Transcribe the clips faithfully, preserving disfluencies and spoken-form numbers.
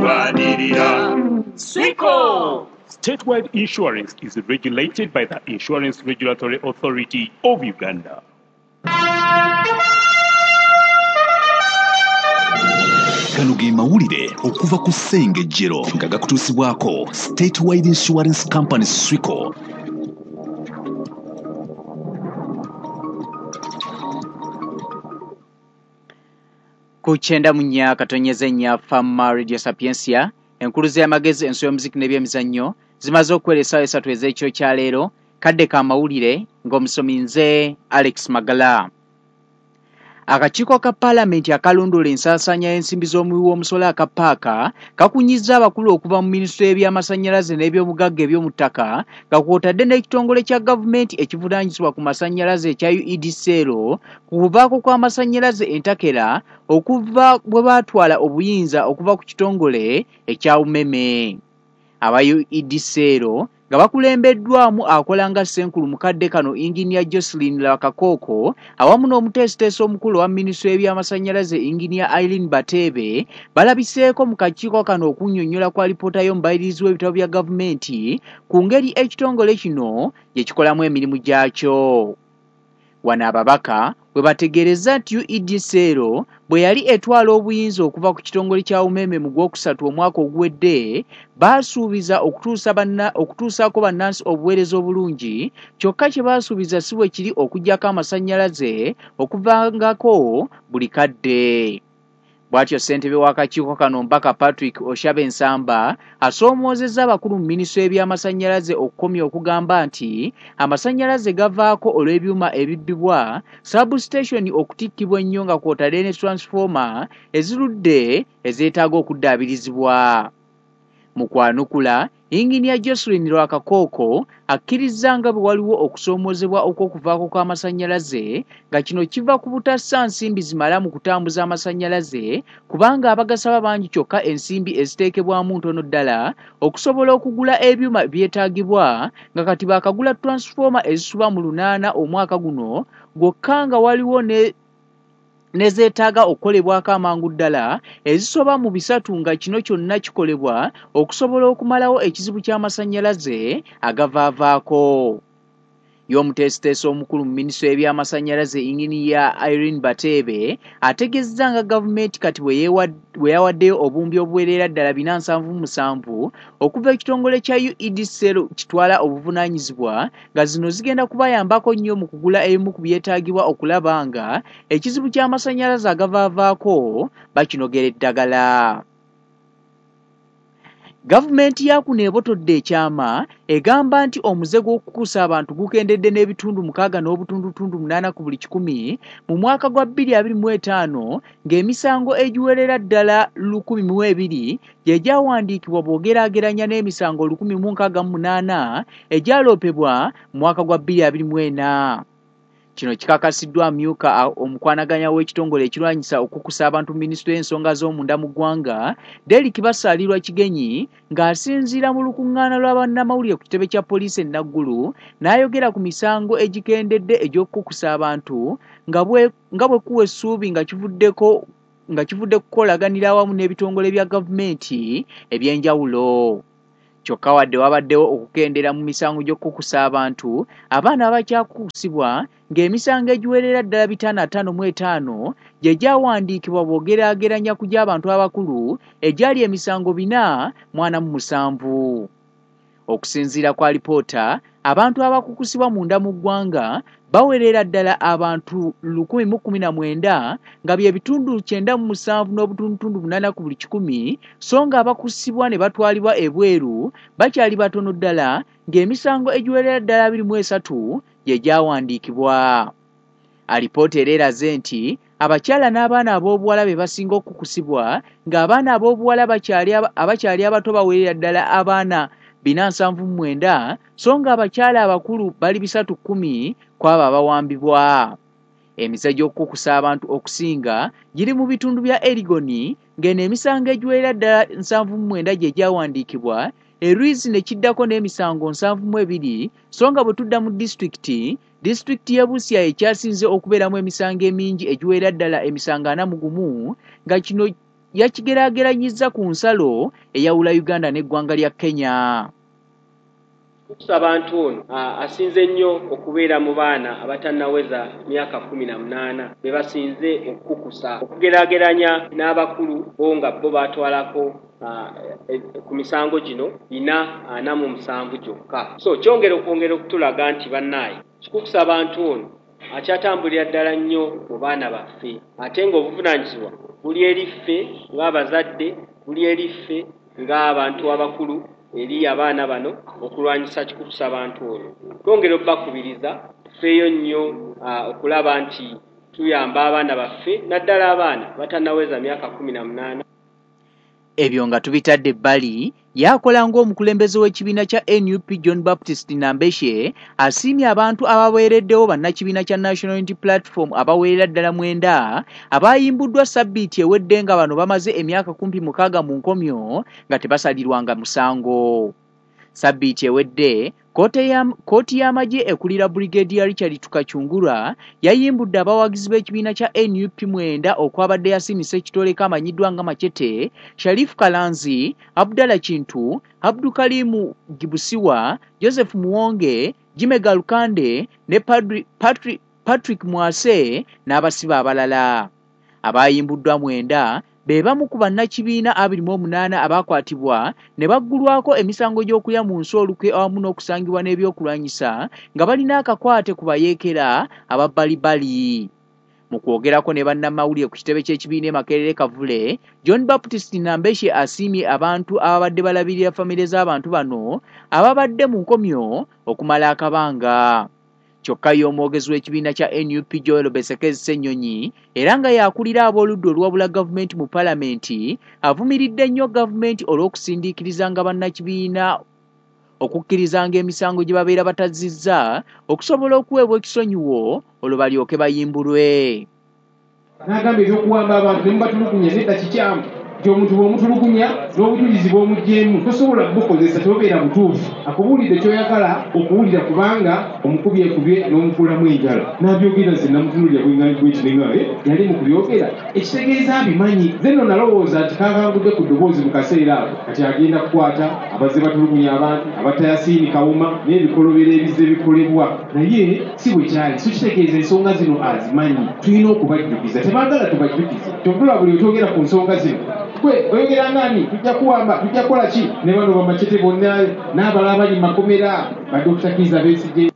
Tulwanirira Swico. Statewide Insurance is regulated by the Insurance Regulatory Authority of Uganda. Gano ge mawulire okuva ku Ssengejjero nga gakutuusibwako Statewide Insurance Company Swico. Ku kyenda mu nnya katonyeze nnya Fama Radio Sapientia, enkuluze y'amagezi, enso y'omuziki n'ebyemizannyo zimaze okuwera essaawa esatu ez'ekiro kya leero. Kadde ka mawulire ng'omusomi nze Alex Magala. Akakiiko ka Paalamenti akalondoola ensaasaanya y'ensimbi z'omuwi w'omusolo aka PAAKA kakunyizza abakulu okuva mu minisitule y'ebyamasannyalaze n'ebyobugagga eby'omu ttaka, nga kw'otadde n'ekitongole kya gavumenti ekivunaanyizibwa ku masannyalaze ekya U E D C L ku kuvaako kw'amasannyalaze entakera okuva bwe baatwala obuyinza okuva ku kitongole ekya Umeme. Aba U E D C L nga bakulembeddwamu akola nga Ssenkulu mukadde kano Engineer Jocelyn Lwakakooko awamu n'omuteesiteesi omukulu wa minisitule y'ebyamasannyalaze Engineer Irene Bateebe balabiseeko mu kakiiko kano okunnyonnyola kwa alipoota y'omubalirizi w'ebitabo bya gavumenti ku ngeri ekitongole kino gye kikolamu emirimu gyakyo. Wano ababaka we bategeerezza nti U E D C L bwe yali etwala obuyinza okuva ku kitongole kya Umeme mu gwokusatu omwaka oguwedde, baasuubiza okutuusa banna, okutuusaako bannansi obuweereza obulungi, kyokka kye baasuubiza si bwe kiri okuggyako amasannyalaze okuvangako buli kadde. Bw'atyo ssentebe w'akakiiko kano Mbaka Patrick Oshabe Nsamba asoomoozezza abakulu mu minisitule y'ebyamasannyalaze okukomya okugamba nti amasannyalaze gavaako olw'ebyuma ebibbibwa, substation okutikkibwa ennyo nga kw'otadde ne transformer ezirudde ezeetaaga okuddaabirizibwa. Mu kwanukula, Engineer Jocelyn Lwakakooko akkirizza nga bwe waliwo okusoomoozebwa okw'okuvaako kw'amasannyalaze nga kino kiva ku butassa nsimbi zimala mu kutambuza amasannyalaze kubanga abagasaba bangi kyokka ensimbi eziteekebwamu ntono ddala okusobola okugula ebyuma byetaagibwa nga kati baakagula transformer ezisuba mu lunaana omwaka guno gwokka nga waliwo ne nezeetaaga okukolebwako amangu ddala ezisoba mu bisatu nga kino kyonna kikolebwa okusobola okumalawo ekizibu ky'amasannyalaze agavaavaako. Y'omuteesiteesi omukulu mu minisitule y'ebyamasannyalaze Engineer Irene Bateebe ategeezezza nga gavumenti kati bwe yeewa-, bwe yawaddeyo obuwumbi obuwerera ddala bina nsanvu mu musanvu okuva ekitongole kya U E D C L kitwala obuvunaanyizibwa nga zino zigenda kubayambako nnyo mu kugula ebimu ku byetaagibwa okulaba nga ekizibu ky'amasannyalaze agavaavaako bakinogera eddagala. Gavumenti ya kuno ebotodde ekyama egamba nti omuze gw'okukukusa abantu gukendedde n'ebitundu mukaaga n'obutundutundu munaana ku buli kikumi mu mwaka gwa bbiri abiri mu etaano ng'emisango egiwerera ddala lukumi mu ebiri gye gyawandiikibwa bw'ogeraageranya n'emisango lukumi mu nkaaga mu munaana egyaloopebwa mu mwaka gwa bbiri abiri mu ena. Kino kikakasiddwa amyuka omukwanaganya w'ekitongole ekirwanyisa okukusa abantu mu minisitule y'ensonga z'omunda mu ggwanga Derrick Basaalirwa Kigenyi ng'asinziira mu lukuŋŋaana lwa bannamawulire ku kitebe kya poliisi e Naggulu n'ayogera ku misango egikendedde egy'okukukusa abantu nga bwe, nga bwe kuwa essuubi nga kivuddeko, nga kivudde kukolaganira awamu n'ebitongole bya gavumenti eby'enjawulo. Kyokka wadde wabaddewo okukendeera mu misango gy'okukukusa abantu, abaana abakyakukusibwa ng'emisango egiwerera ddala bitaano ataano mu etaano gye gyawandiikibwa bw'ogeraageranya ku gy'abantu abakulu egyali emisango bina mu ana mu musanvu. Okusinziira ku alipoota, abantu abakukusibwa munda mu ggwanga bawerera ddala abantu lukumi mu kkumi na mwenda nga bye bitundu kyenda mu musanvu n'obutundutundu munaana ku buli kikumi, so nga abakusibwa ne batwalibwa ebweru bakyali batono ddala ng'emisango egiwerera ddala abiri mu esatu gye gyawandiikibwa. Alipoota era eraze nti abakyala n'abaana ab'obuwala be basinga okukusibwa, ng'abaana ab'obuwala bakyali aba-, abakyali abato bawerera ddala abaana bina nsanvu mu mwenda, so ng'abakyala abakulu bali bisatu kkumi ku abo abawambibwa. Emize gy'okukukusa abantu okusinga giri mu bitundu bya Erigoni, ng'eno emisango egiwerera ddala nsanvu mu mwenda gye gyawandiikibwa, Erwizi ne kiddako n'emisango nsanvu mu ebiri, so nga bwe tudda mu disitulikiti, disitulikiti y'e Busia ekyasinze okubeeramu emisango emingi egiwerera ddala emisango ana mu gumu, nga kino yakigeraageranyizza ku nsalo eyawula Uganda n'eggwanga lya Kenya. Kikukusa abantu ono asinze nnyo okubeera mu baana abatannaweza myaka kkumi na munaana be basinze okukukusa okugeraageranya n'abakulu bo nga bo batwalako ku misango gino bina ana mu musanvu gyokka. So kyongera okwongera okutulaga nti bannaaye kikukusa abantu ono akyatambulira ddala nnyo mu baana baffe, ate ng'obuvunaanyizibwa buli eri ffe ng'abazadde, buli eri ffe ng'abantu abakulu eri abaana bano okulwanyisa kikukusa abantu ono. Twongera obbakubiriza tufeeyo nnyo okulaba nti tuyamba abaana baffe naddala abaana batannaweza myaka kkumi na munaana. Ebyo nga tubitadde ebbali, yakola ng'omukulembeze w'ekibiina kya N U P John Baptist Nambeshe asiimye abantu abaweereddewo bannakibiina kya National Unity Platform abaweerera ddala mwenda abayimbuddwa sabbiiti ewedde nga bano bamaze emyaka kumpi mukaaga mu nkomyo nga tebasalirwanga musango. Sabbiiti ewedde kkooti y'amagye ekulira Brigadier Richard Tukachungura yayimbudde abawagizi b'ekibiina kya N U P mwenda okwabadde Yasin Ssekitoleko amanyiddwa nga Machete, Sharif Kalanzi, Abdallah Kintu, Abdukalimu Gibusiwa, Joseph Muwonge, Jime Galukande ne Patrick, Patrick Mwase n'abasibe abalala. Abayimbuddwa mwenda be bamu ku bannakibiina abiri mu omunaana abakwatibwa ne baggulwako emisango gy'okulya mu nsi olukwe awamu n'okusangibwa n'ebyokulwanyisa nga balina akakwate ku bayeekera ababbalibali. Mu kwogerako ne bannamawulire ku kitebe ky'ekibiina e Makerere Kavule, John Baptist Nambeshe asiimye abantu ababadde balabirira famire z'abantu bano ababadde mu nkomyo okumala akabanga. Kyokka ye omwogezi w'ekibiina kya N U P Joel Besekezi Ssenyonyi era nga yakulira ab'oludda oluwabula gavumenti mu paalamenti avumiridde nnyo gavumenti olw'okusindiikirizanga bannakibiina okukkirizanga emisango gye babeera batazizza okusobola okuweebwa ekisonyiwo olwo balyoke bayimbulwe. N'agamba eby'okuwamba abantu ne mubatulugunya nedda kikyamu nti omuntu bw'omutulugunya n'obujulizi bw'omuggyemu tosobola kubukozesa, tobeera butuufu. Akubuulidde ky'oyagala okuwulira kubanga omukubi ekubye n'omukuulamu enjala. N'abyogera nze namutunuulira bwengandi bweti yali mu kubyogera ekitegeeza abimanyi. Nze nno nalowooza nti kakangudde ku ddoboozi mu kaseera ako kati agenda kukwata abazze batulugunya abantu abatta Yasiini Kawuma n'ebikolobero ebizze bikolebwa, naye si bwe kyali. So kitegeeza ensonga zino azimanyi, tulina okubajjukiza. Tebaagala tubajjukize, kyokka buli otwogera ku nsonga zino kwe oyogera ngani tujja kuwamba, tujja kukola ki ne bano bamachete bonna n'abalala bali makomera ba Doctor Kizza Besigye.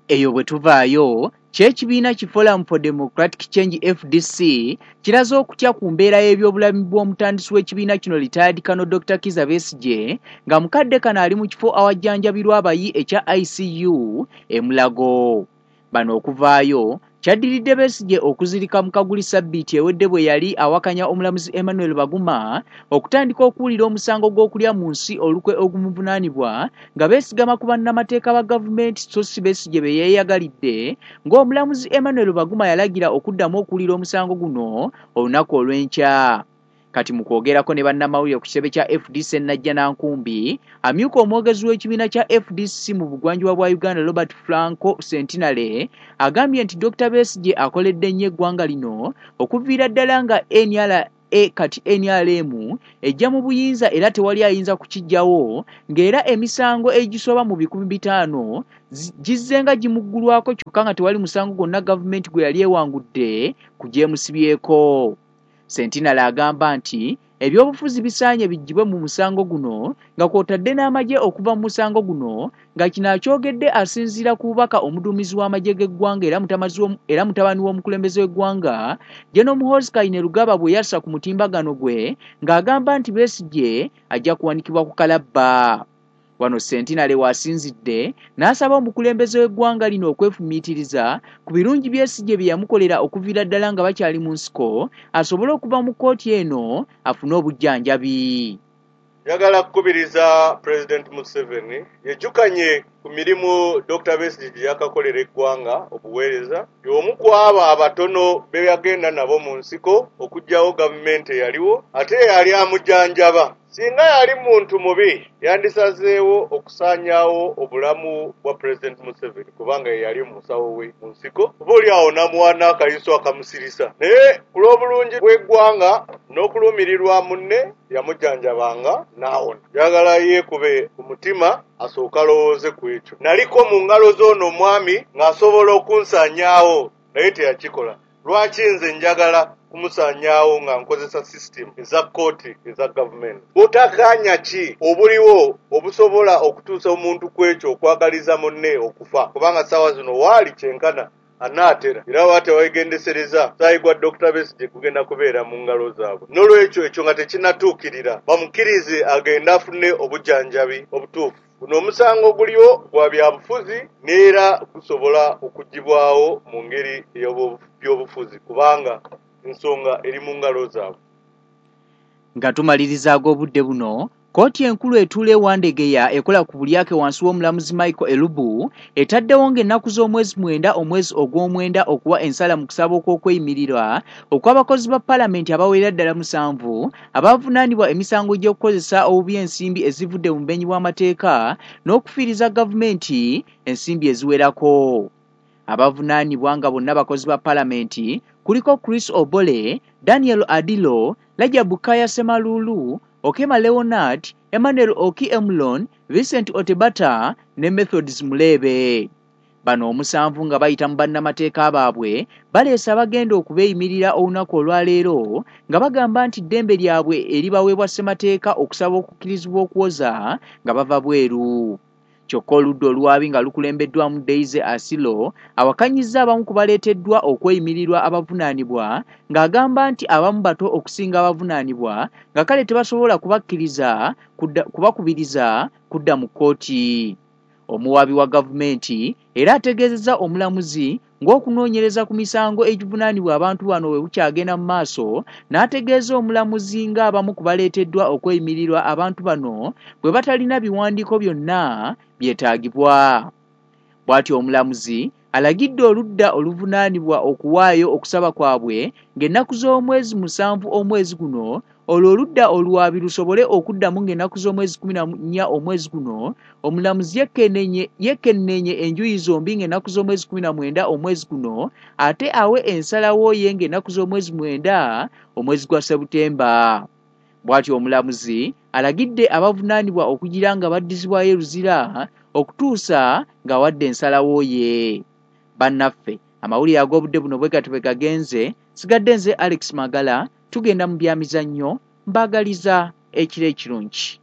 Eyo bwe tuvaayo, ky'ekibiina ki Forum for Democratic Change F D C kiraze okutya ku mbeera y'ebyobulamu bw'omutandisi w'ekibiina kino retired Colonel Doctor Kizza Besigye nga mukadde kano ali mu kifo awajjanjabirwa abayi ekya I C U e Mulago. Bano okuvaayo kyaddiridde Besigye okuzirika mu kaguli sabbiiti ewedde bwe yali awakanya omulamuzi Emmanuel Baguma okutandika okuwulira omusango gw'okulya mu nsi olukwe ogumuvunaanibwa nga beesigama ku bannamateeka ba gavumenti so si Besigye be yeeyagalidde, ng'omulamuzi Emmanuel Baguma yalagira okuddamu okuwulira omusango guno olunaku olw'enkya. Kati mu kwogerako ne bannamawulire ku kitebe kya F D C Najjanankumbi, amyuka omwogezi w'ekibiina kya F D C mu bugwanjuba bwa Uganda Robert Franco Sentinale agambye nti Doctor Besigye akoledde nnyo eggwanga lino okuviira ddala nga N R A kati N R M ejja mu buyinza era tewali ayinza kukiggyawo, ng'era emisango egisoba mu bikumi bitaano gizzenga gimuggulwako kyokka nga tewali musango gwonna gavumenti gwe yali ewangudde ku gyemusibyeko. Sentinale agamba nti ebyobufuzi bisaanye biggyibwe mu musango guno nga kw'otadde n'amagye okuva mu musango guno, nga kino akyogedde asinziira ku bubaka omuduumizi w'amagye g'eggwanga era mutabani w'omukulembeze w'eggwanga General Muhoozi Kainerugaba bwe yassa ku mutimbagano gwe ng'agamba nti Besigye ajja kuwanikibwa ku kalabba. Wano Sentinale w'asinzidde n'asaba omukulembeze w'eggwanga lino okwefumiitiriza ku birungi Besigye bye yamukolera okuviira ddala nga bakyali mu nsiko asobole okuva mu kkooti eno afune obujjanjabi. Njagala kukubiriza President Museveni yejjukanye ku mirimu Doctor Besigye gye yakakolera eggwanga obuweereza, y'omu ku abo abatono be yagenda nabo mu nsiko okuggyawo gavumenti eyaliwo, ate yali amujjanjaba. Singa yali muntu mubi, yandisazeewo okusaanyaawo obulamu bwa President Museveni, kubanga ye yali musawo we mu nsiko, oba oli awo n'amuwa n'akayiso akamusirisa. Naye ku lw'obulungi bw'eggwanga n'okulumirirwa munne, yamujjanjabanga n'awona. Njagala yeekube ku mutima asooke alowooze ku ekyo. Naliko mu ngalo z'ono omwami ng'asobola okunsaanyaawo, naye teyakikola. Lwaki nze njagala kumusaanyaawo nga nkozesa system eza kkooti eza gavumenti? Butakkaanya ki obuliwo obusobola okutuusa omuntu ku ekyo okwagaliza munne okufa? Kubanga ssaawa zino waali kyenkana anaatera, era baba teweegendesereza, musaayi gwa Dokita Besigye gugenda kubeera mu ngalo zaabwe. N'olwekyo ekyo nga tekinnatuukirira, bamukkirize agende afune obujjanjabi obutuufu. Guno omusango guliwo gwa byabufuzi n'era gusobola okuggyibwawo mu ngeri ey'ebyobufuzi, kubanga ensonga eri mu ngalo zaabwe. Nga tumaliriza ag'obudde buno, kkooti enkulu etuula e Wandegeya ekola ku bulyake wansi w'omulamuzi Michael Elubu etaddewo ng'ennaku z'omwezi mwenda omwezi ogw'omwenda okuwa ensala mu kusaba okw'okweyimirirwa okw'abakozi ba paalamenti abawerera ddala musanvu abavunaanibwa emisango gy'okukozesa obubi ensimbi ezivudde mu bumenyi bw'amateeka n'okufiiriza gavumenti ensimbi eziwerako. Abavunaanibwa nga bonna bakozi ba paalamenti kuliko Chris Obole, Daniel Adilo, Rajab Kaya Ssemalulu, Okema Leonard, Emmanuel Oki Emlon, Vincent Otebata ne Methods Mulebe. Bano omusanvu nga bayita mu bannamateeka baabwe baleese abagenda okubeeyimirira olunaku olwaleero nga bagamba nti ddembe lyabwe eribaweebwa ssemateeka okusaba okukkirizibwa okuwoza nga bava bweru. Kyokka oludda oluwaabi nga lukulembeddwamu Daisy Asilo awakanyizza abamu ku baleeteddwa okweyimirirwa abavunaanibwa ng'agamba nti abamu bato okusinga abavunaanibwa nga kale tebasobola kubakkiriza kubakubiriza kudda mu kkooti. Omuwaabi wa gavumenti era ategeezezza omulamuzi ng'okunoonyereza ku misango egivunaanibwa abantu bano bwe bukyagenda mu maaso, n'ategeeza omulamuzi ng'abamu ku baleeteddwa okweyimirirwa abantu bano bwe batalina biwandiiko byonna byetaagibwa. Bw'atyo omulamuzi alagidde oludda oluvunaanibwa okuwaayo okusaba kwabwe ng'ennaku z'omwezi musanvu omwezi guno, olwo oludda oluwaabi lusobole okuddamu ng'ennaku z'omwezi kkumi na nnya omwezi guno. Omulamuzi yekenneenye enjuyi zombi ng'ennaku z'omwezi kkumi na mwenda omwezi guno, ate awe ensalawo ye ng'ennaku z'omwezi mwenda omwezi gwa Sebutemba. Bw'atyo omulamuzi alagidde abavunaanibwa okugira nga baddizibwayo e Luzira okutuusa ng'awadde ensalawo ye. Bannaffe, amawulire ag'obudde buno bwe gatyo bwe gagenze. Sigadde nze Alex Magala, tugenda mu byamizannyo, mbaagaliza ekiro ekirungi.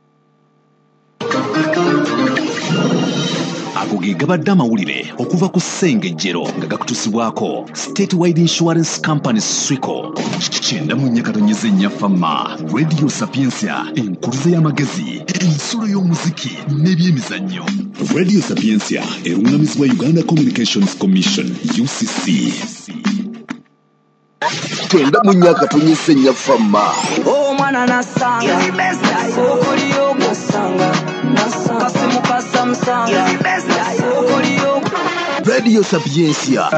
Ago ge gabadde amawulire okuva ku Ssengejjero nga gakutuusibwako Statewide Insurance Company Swico. Kyenda mu nnya katonyeze nnya Fama, Radio Sapientia, enkuluze y'amagezi, ensulo y'omuziki n'ebyemizannyo. Radio Sapientia erungamizibwa Uganda Communications Commission U C C. Kyenda mu nnya katonyeze nnya Fama. Omwana nasanga, okoliyo nasanga, kasimu kasamusanga, okoliyo. Radio Sapientia.